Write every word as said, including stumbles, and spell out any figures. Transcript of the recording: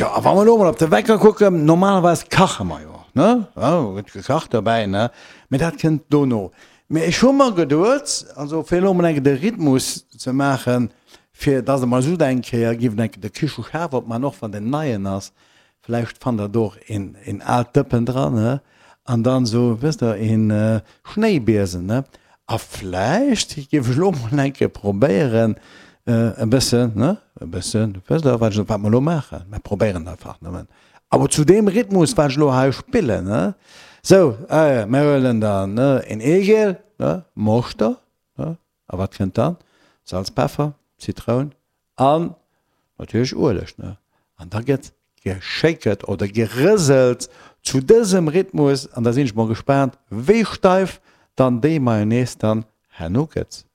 Tjo, a wa mer elo mol op de Wecker kucken, normalerweis kache mer jo, ne? Jo, gëtt gekacht dobäi, ne? Mee dat kënnt dono. Mee ech hu mer geduet, also fir elo mol eng Kéier de Rhythmus ze maachen, fir dass e mol esou eng Kéier giff eng Kéier de Kicheschaf opman, och wann deen neien ass, vläicht fannt der do och een, een aalt Dëppen dran, ne? An dann esou, wësst der, een Schnéibiesen, ne? A vläicht géif ech elo mol eng Kéier probéieren, e bëssen, ne, e bëssen, wësst Der, wat ech, wat mer elo maachen? Mer probéieren einfach nëmmen. Awer zu deem Rhythmus, wat ech elo hei spillen, ne? Sou, mer huelen dann, ne, een Eegel, ne, Moschter, ne, a wat kënnt dann? Salz, Peffer, Zitroun an natierlech Ueleg, ne? An da gëtt geschéckert oder gerëselt zu dësem Rhythmus an da sinn ech mol gespaant, wéi steif dann déi Mayonnaise dann herno gëtt.